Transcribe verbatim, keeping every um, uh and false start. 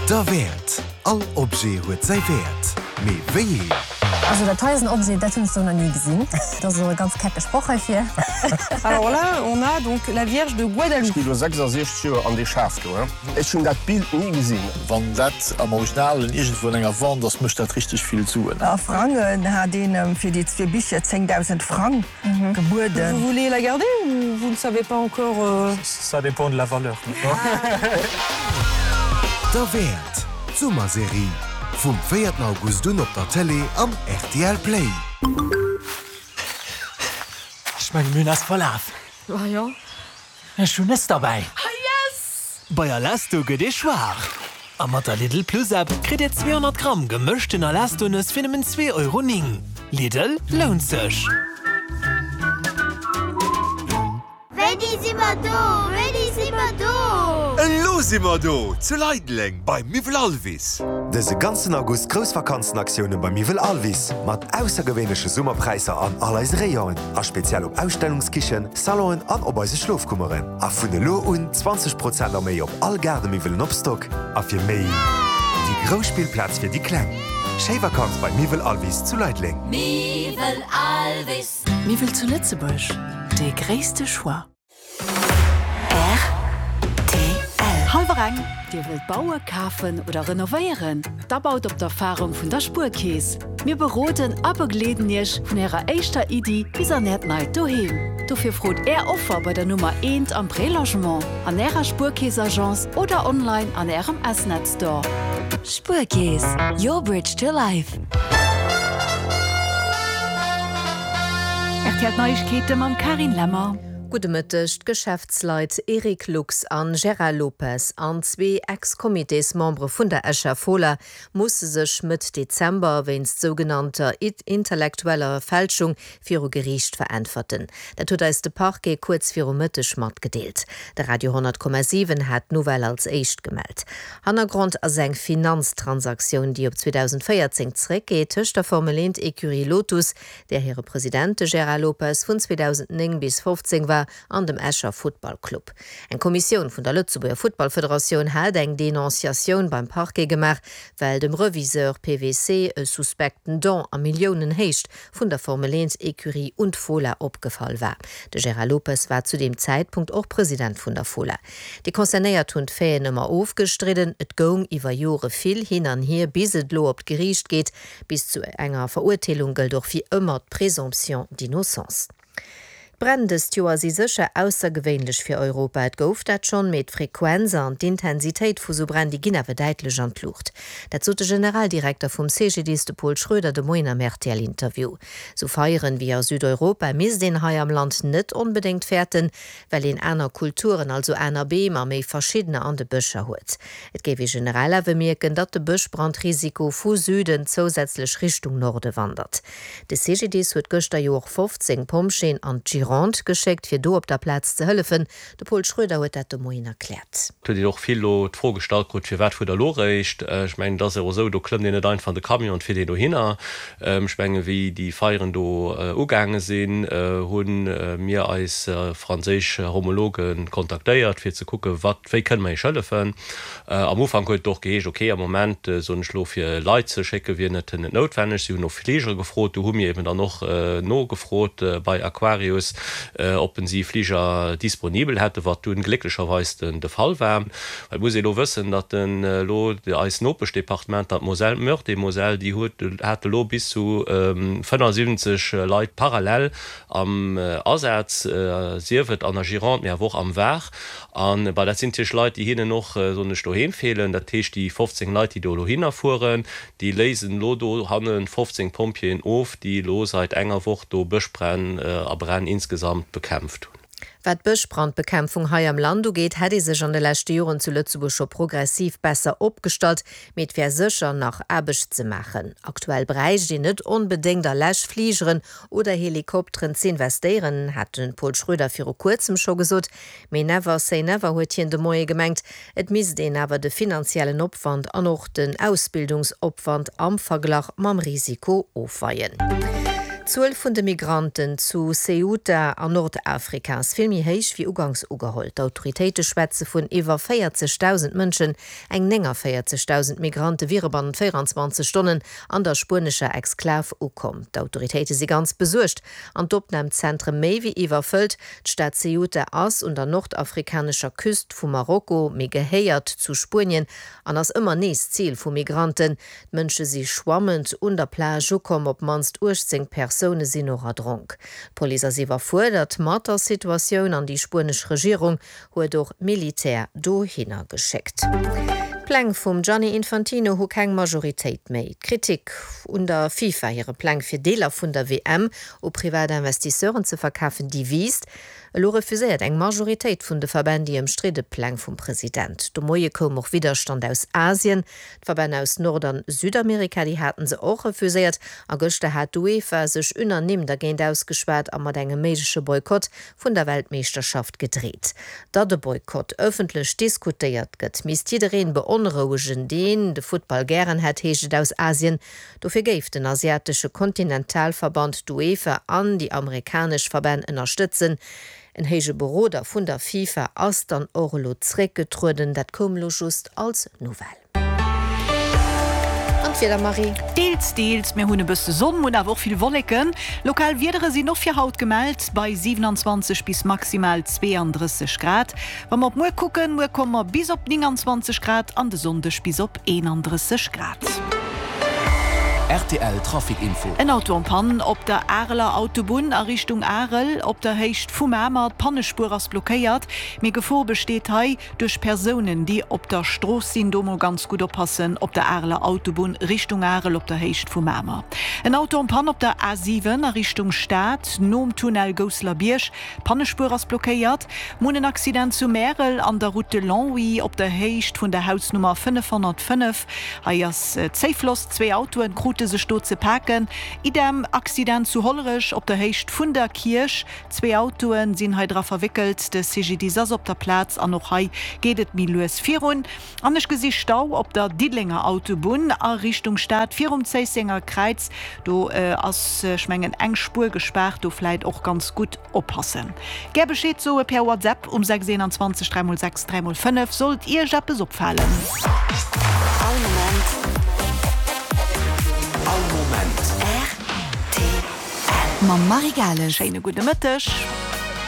Derwäert! All Objet huet säi Wäert, mee wéi een? Also dat hei ass en Objet, dat hunn ech sou nach ni gesinn. Dat ass och e ganz kecke Sproch heifir. Alors là, on a donc la Vierge de Guadalupe. Ech gi lo sechsasiechzeg Joer an dee Schaf do, he. Ech hunn dat Bild ni gesinn. Wann dat am Originalen iergendwou an enger Wand ass, mécht dat richteg vill Suen. A Frangen hat een em fir déi zwee Bicher zéngdausend Frang gebueden. Vous voulez la garder ou vous ne savez pas encore? Ça dépend de la valeur. Derwäert, d'Summerserie vum véierten August un op der Tëlee an R T L Play. Ech mengen, mir hunn eis verlaf. Ah jo? Ech hunn Nëss derbäi. Ah yes! Bei Alesto gëtt ee schwaach. A mat der Lidl Plus App kritt Dir zweehonnert Gramm gemëschten Alesto-Nëss fir nëmmen zwee Euro néng. Lidl, lount sech! Wéini si mer do? Wéini si mer do? Elo si mer do! Zu Leideleng bei Miwwel Alvis. Dëse ganzen August grouss Vakanzenaktioune bei Miwwel Alvis mat aussergewéinleche Summerpräisser an all eise Rayonen a speziell op Ausstellungskichen, Salonen an op eise Schlofkummeren. A vun elo un zwanzeg Prozent a méi op all Gaardemiwwelen op Stock. A fir méi déi grouss Spillplaz fir déi Kleng. Schéi Vakanz bei Miwwel Alvis zu Leideleng. Miwwel Alvis. Miwwel zu Lëtzebuerg, dee gréisste Choix. R T L. Hallwer eng. Dir wëllt baue, kafen oder renovéieren? Da baut op d'Erfarung vun der Spuerkeess. Mir beroden a begleeden Iech vun Ärer éischter Iddi bis an Äert neit Doheem. Dofir frot Är Offer bei der Nummer eent am Prélogement, an Ärer Spuerkeess-Agence oder online an Ärem S-Net Store. Spuerkeess, your bridge to life. R T L Neiegkeete mam Carine Lemmer. Gudde Mëtteg. D'Geschäftsleit Eric Lux an Gérard Lopez an zwee Ex-Comitésmembere vun der Escher Fola musse sech Mëtt Dezember wéinst sougenannter intellektueller Fälschung viru Geriicht veräntwerten. Dat huet eis de Parquet kuerz viru Mëtteg matgedeelt. De Radio honnert Komma siwen hat d'Nouvelle als éischt gemellt. Hannergrond ass eng Finanztransaktioun, déi op zweedausendvéierzéng zeréckgeet, tëscht der Formel eent Ecurie Lotus, där hire President de Gérard Lopez vun zweedausendnéng bis fofzéng war, an dem Escher Futtballclub. Eng Kommissioun vun der Lëtzebuerger Futtballfederatioun hat eng Denonciatioun beim Parquet gemaach, well dem Reviseur P W C e suspekten Don a Milliounenhéicht vun der Formel eent Ecurie un d'Fola opgefall war. De Gérard Lopez war zu deem Zäitpunkt och President vun der Fola. Déi Concernéiert hunn d'Faiten ëmmer ofgestridden, et goung iwwer Jore vill hin an hier, bis et lo op d'Geriicht geet. Bis zu enger Verurteelung gëllt och wéi ëmmer d'Présomption d'innocence. D'Bränn dëst Joer si sécher aussergewéinlech fir Europa. Et gouf dat schonn, mee d'Frequenz an d'Intensitéit vu sou Bränn, déi ginn awer däitlech an d'Luucht. Dat sot de Generaldirekter vum C G D I S, de Paul Schroeder, de Moien am R T L-Interview. Sou Feieren wéi a Südeuropa misst een hei am Land net onbedéngt fäerten, well een aner Kulturen, also aner Beem a méi verschiddener an de Bëscher huet. Et géif ee generell awer mierken, datt de Bëschbrandrisiko vu Süden zousätzlech Richtung Norde wandert. De C G D I S huet gëschter jo och fofzéng Pompjeeën an d'Gironde geschéckt, fir do op der Plaz ze hëllefen. De Paul Schroeder huet dat de Moien erkläert. Et huet een och vill elo d'Fro gestallt krut, firwat fuert der elo réischt? Ech mengen, et ass jo och esou, do klëmmt een net einfach an de Camion an fiert een dohinner. Ech mengen, wéi déi Feieren do ugaange sinn, hu mir eis franséisch Homologe kontaktéiert, fir ze kucken, wat, wéi kënne mer iech hëllefen. Am Ufank huet et och geheescht, okay, am Moment, soen ech elo, fir Leit ze schécke wier net net noutwenneg. Si hunn no Fligere gefrot, do hu mir eben dann och nogefrot bei Aquarius, ob si Fliger disponibel hätten, wat dunn glécklecherweis den de Fall war. Well et muss ee lo wëssen, datt den elo eis Nopeschdepartementer, d'Moselle, d'Meurthe-et-Moselle, déi huet hate lo bis zu fënnefasiwwenzeg Leit parallel am Asaz, sief et an der Gironde, mee awer och am Var. An bah, dat sinn natierlech Leit, déi hinnen och, soen ech, doheem feelen. Dat heescht, déi fofzéng Leit, déi do elo hinner fueren, déi léisen elo do hanne fofzéng Pompjeeën of, déi elo seit enger Woch do Bëschbränn a Bränn insgesamt bekämpft hunn. Wat d'Bëschbrandbekämpfung hei am Land ugeet, hätt ee sech an de leschte Joren zu Lëtzebuerg scho progressiv besser opgestallt, mee et wär sécher nach Aarbecht ze maachen. Aktuell bräicht een net onbedéngt a Läschfligeren oder Helikopteren ze investéieren, hat de Paul Schroeder viru kuerzem scho gesot. Mee never say never, huet hien de Moie gemengt. Et misst een awer de finanziellen Opwand an och den Ausbildungsopwand am Verglach mam Risiko ofweien. D'Zuel vun de Migranten zu Ceuta an Nordafrika ass vill méi héich wéi uganks ugeholl. D'Autoritéite schwätze vun iwwer véierzegdausend Mënschen. Eng néngavéierzegdausend Migrante wiere bannent véierundzwanzeg Stonnen an der spuenescher Exklav ukomm. D'Autoritéite si ganz besuergt an d'Opnamzentre méi wéi iwwerfëllt. D'Stad Ceuta ass un der nordafrikanescher Küst vu Marokko, mee gehéiert zu Spuenien an ass ëmmer nees Zil vu Migranten. D'Mënsche si schwammend un der Plage ukomm, op d'mannst uechtzéng Persoune sinn och erdronk. D'Police ass iwwerfuerdert mat der Situatioun an déi spuenesch Regierung huet och Militär dohinner geschéckt. D'Pläng vum Gianni Infantino hu keng Majoritéit méi. D'Kritik un der FIFA hire Pläng fir Deeler vun der W M u privat Investisseuren ze verkafen, déi wiisst. Elo refuséiert eng Majoritéit vun de Verbänn déi ëmstridde Pläng vum President. De Moie koum och Widderstand aus Asien. D'Verbänn aus Nord an Südamerika, déi haten se och refuséiert. A gëschter hat d'UEFA sech unanime dergéint ausgeschwat a mat engem méigleche Boykott vun der Weltmeeschterschaft gedreet. Datt e Boykott ëffentlech diskutéiert gëtt, misst jiddereen beonrouegen, deen de Futtball gären hätt, heescht et aus Asien. Dofir géif den asiatesche Kontinentalverband d'UEFA an déi amerikanesch Verbänn ënnerstëtzen. En héije Beroder vun der FIFA ass dann och elo zréckgetrueden. Dat koum elo just als Nouvelle. An d'Wieder, Marie? Deels, deels, mir hunn e bësse Sonn, hunn awer och vill Wolleken. Lokal Wiedere sinn och fir haut gemellt, bei siewenanzwanzeg bis maximal zweeandrësseg Grad. Wa mer op muer kucken, muer komme mer bis op nénganzwanzeg Grad an de Sonndeg bis op eenandrësseg Grad. Rtl Trafic Info. En Auto en panne op der Areler Autobunn a Richtung Arel op der Héicht vu Mamer. D'Pannespuer ass blockéiert, mee Gefor besteet hei duerch Persounen, déi op der Strooss sinn. Do mol ganz gutt oppassen op der Areler Autobunn Richtung Arel op der Héicht vu Mamer. En Auto en panne op der A siwen a Richtung Stad nom Tunnel Gousselerbierg. D'Pannespuer ass blockéiert. Mir hunn en Accident zu Märel an der Route de Longwy op der Héicht vun der Hausnummer fënnefhonnertfënnef. Hei ass Zéifloss, zwee Autoen krute sech do ze paken. Idem Accident zu Hollerech op der Héicht vun der Kierch, zwee Autoen sinn hei dra verwéckelt. De C G D I S ass op der Plaz an och hei geet et méi lues virun. An ech gesi Stau op der Diddelenger Autobunn a Richtung Stad virum Zéissenger Kräiz. Do ass, ech mengen, eng Spuer gespaart, do vläit och ganz gutt oppassen. Gär Bescheed soe per WhatsApp um sechs eenanzwanzeg dräi mol sechs dräi mol fënnef, sollt Iech eppes opfalen. All Moment. All Moment. R T L. Mam Marie Gales. Schéine gudde Mëtteg.